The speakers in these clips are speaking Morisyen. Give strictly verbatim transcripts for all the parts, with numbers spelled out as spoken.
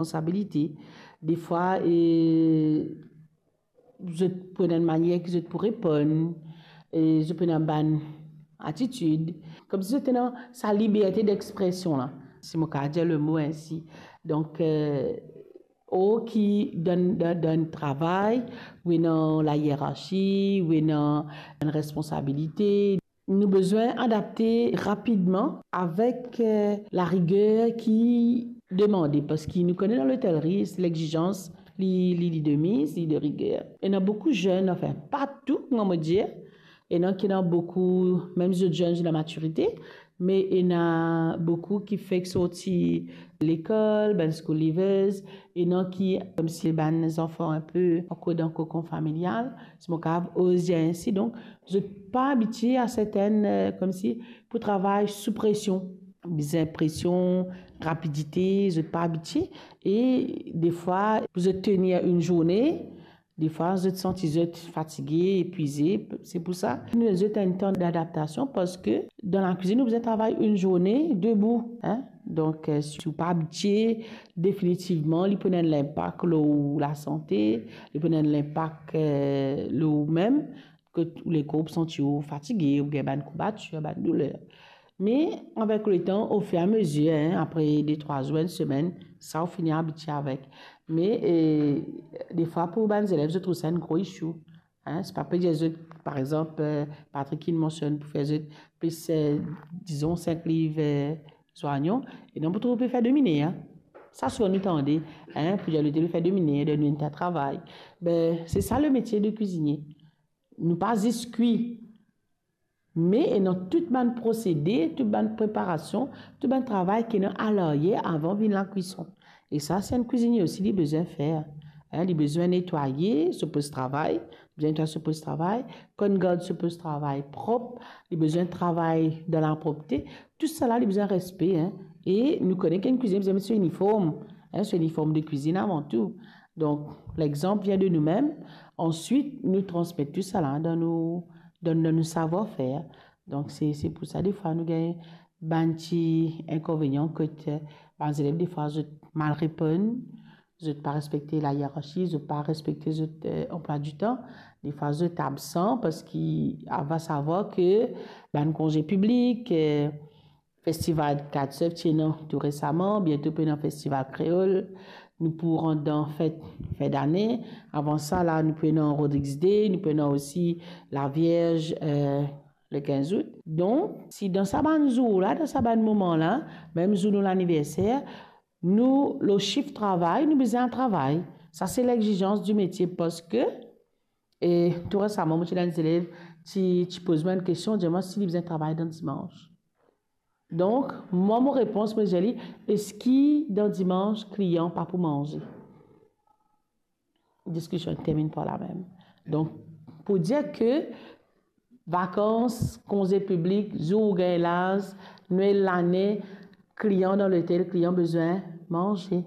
responsabilite. Defwa, e, zot pou ena enn manier ki zot pou reponn, e zot pou ena bann atitid, koumsi zot ena sa liberte d'expression la, si mo kapav dir lemo ensi. Donk, e, ou ki dan, dan, dan travay, ou ena layerarsi, ou ena enn responsabilite, nou bizin adapte rapidman avek, e, lariger ki demande, parski nou kone dan lotelri, se lexizans, li, li, li de miz, li de riger. Ena boukou zenn, anfin, pa tou, kouma mo dir, ena ki ena boukou, mem zot zenn, zot dan lamatirite, me ena boukou ki fek sorti lekol, bann school leavers, ena ki, koumsi bann zanfan inpe ankor dan kokon familial, si mo kapav oze dir ensi. Donk, zot pa abitie a sertenn, e, koumsi pou travay sou presion. Bizin presion, rapidite, zot pa abitie. E defwa, pou zot tenir enn zourne, defwa, zot santi zot fatige, etwize. Se pou sa, nou donn zot enn tan d'adaptasion, parski dan lakwizinn, nou bizin travay enn zourne debou, en. Donk, e, si ou pa abitie, definitivman, li pou ena enn linpak lor ou lasante, li pou ena enn linpak, e, lor ou mem, kot ou lekor ou santi ou fatige, ou gagn bann kourbatir, bann douler. Me avek letan, ofiramezir, en, apre de trwa zour, enn semenn, sa ou fini abitie avek. Me, e, defwa pou bann zelev, zot trouv sa enn gro issue. En, se pa pe dir zot, par exanp, e, Patrick inn mansionn pou fer zot plis, e, dizon, sink liv, e, zoinyon, e non pou trouv pe fer domine, en. Sa souvan nou tande, en, pou dir lotel fer domine, donn nou enn ta travay. Be, se sa lemetie de kwizinie. Nou pa zis kwi, me ena tou bann prosede, tou bann preparasion, tou bann travay ki ena alaryer avan vinn lakwison. E sa, se enn kwizinie osi, li bizin fer. En, li bizin netwaye so poz travay, bizin netwaye so poz travay, konn gard so poz travay prop, li bizin travay dan lapropte. Tou sala, li bizin respe, en. E nou kone ki enn kwizinie bizin met so iniform, en, so iniform de kwizinn avan tou. Donk, lexanp vinn de noumem, answit, nou transmet tou sala dan nou, dan, dan nou savwar-fer. Donk, se, se pou sa, defwa, nou gagn bann ti inkonvenian kot, e, bann zelev, defwa, zot mal reponn, zot pa respekte layerarsi, zot pa respekte zot, e, anplwa ditan. Defwa, zot absan, parski, a, va savwar ki bann konze piblik, e, festival Katsef ti ena tou resaman, biento pou ena festival kreol, nou pou rant dan fet, fet dane. Avan sa la, nou pou ena Rodrigues Day, nou pou ena osi Lavierz, e, le kinz out. Donk, si dan sa bann zour la, dan sa bann moman la, mem zour nou laniverser, nou, lor sif travay, nou bizin travay. Sa se lexizans di metie, parski, e, tou resaman, mo ti ena enn zelev ti, ti poz mwa enn kestion, dir mwa si li bizin travay dan dimans. Donk, mwa, mo repons, mo dir li, eski dan dimans, klian pa pou manze? Diskision terminn par la mem. Donk, pou dir ki vakans, konze piblik, zour ou gagn laz, Nwel, lane, klian dan lotel, klian bizin manze.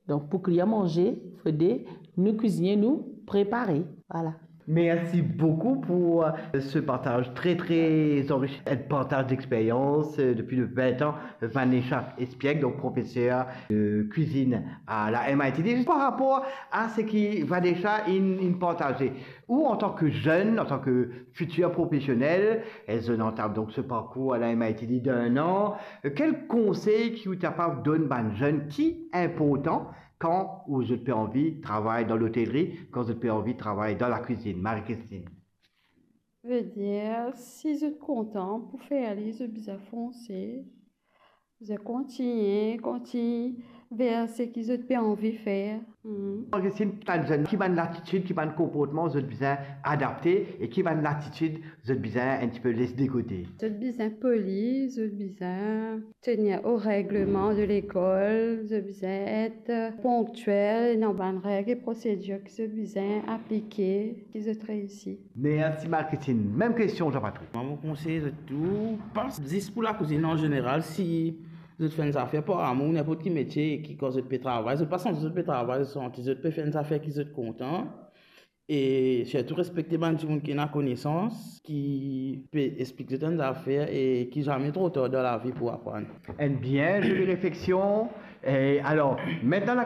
Donk, pou klian manze, fode nou kwizinie, nou prepare. Vwala. Merci beaucoup pour, euh, ce partage très, très enrichissant, un partage d'expérience, euh, depuis de vingt ans, Vanessa Espiègle, donc professeur de cuisine à la M I T D. Par rapport à ce que Vanessa in, in partagé, ou en tant que jeune, en tant que futur professionnel, elle entame donc ce parcours à la M I T D d'un an, euh, quel conseil ki ou kapav donn bann zenn ki inportan kan ou zot pe anvi travay dan lotelri, kan zot pe anvi travay dan lakwizinn? Marie-Christine. Vedir, si zot kontan pou fer li, zot bizin fonse, zot kontigne, kontigne ver seki zot pe anvi fer. Hmm. Marie-Christine, bann zenn, ki bann latitid, ki bann konportman zot bizin adapte e ki bann latitid zot bizin enn tipe les de kote? Zot bizin poli, zot bizin tenir o regleman de lekol, zot bizin et ponktiel dan bann reg e prosedir ki zot bizin aplike, ki zot reisi. Merci Marie-Christine. Mem kestion, Jean-Patrick. Mwa, mo konsey zot tou, pa zis pou lakwizinn an zeneral, si zot fer enn zafer par amour, ninport ki metie, ki kan zot pe travay, zot pa santi zot pe travay, zot santi zot pe fer enn zafer ki zot kontan. E sirtou respekte bann dimoun ki ena konesans, ki pe explik zot enn zafer e ki zame tro tar dan lavi pou aprann. Enn bien zoli refleksion. E alor, mintnan